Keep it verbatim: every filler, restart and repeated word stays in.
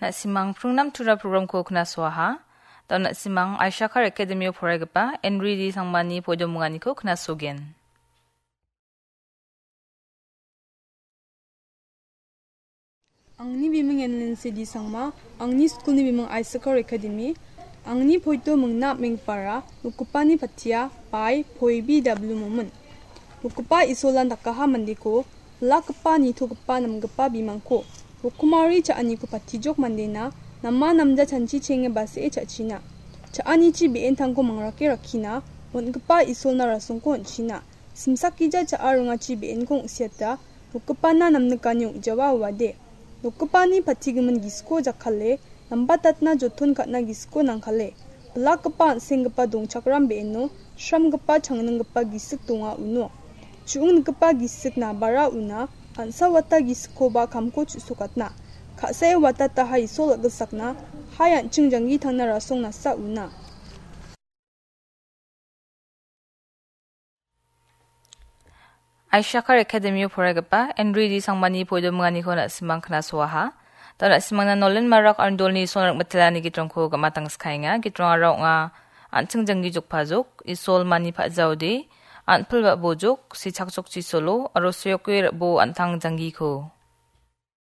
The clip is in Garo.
Na·simang pringnam tura programko knasoaha. Da·o na·simang Aishakar Academy-o poraigipa Henry D Sangmani poidominganiko knasogen. Angni biming N Lindsay D Sangma, angni skulni biming Aishakar Academy, angni poito mingna apengpara, nokgipani pattia, bai, poi B W Momin. Nokgipa Isolan dakaha mandeko, bilakgipa, nitogipa, namgipa bimangko, rokomari cha·aniko patijok mandena, nama namja chanchi chenge basee cha·china. Cha·anichi be·entangko mangrake rakkina, on·gipa Isolna rasongko on·china. Simsakgija cha·a ringachi be·enko ong·siata, nokgipana namnikani ong·jawa uade. Nokgipani patigimin gisiko jakkale, nambatatna joton ka·na gisiko nangkale. Bilakgipa an·senggipa dongchakram be·eno, sramgipa changninggipa gisik donga uno. Chu·ong nikgipa gisik nabara una, an·sa wata gisikoba kamko chu·sokatna. Ka·sae watataha Isol a·gilsakna, hai an·ching janggi tangna rasong nasa una. Aishakar Academy-o poraigipa Henry D Sangmani poidominganiko na·simang knasoaha. Da·o na·simangna Nolen Marak aro Dolni Sonrak Mitelani gitrongko gama tangskaenga. Gitrongara ong·a An·ching Janggi Jokpajok, Isol Mani Pajaode, An·pil Ba·bojok, Sichakjok Chisolo, aro Soyokwe Rabo An·tang Janggiko.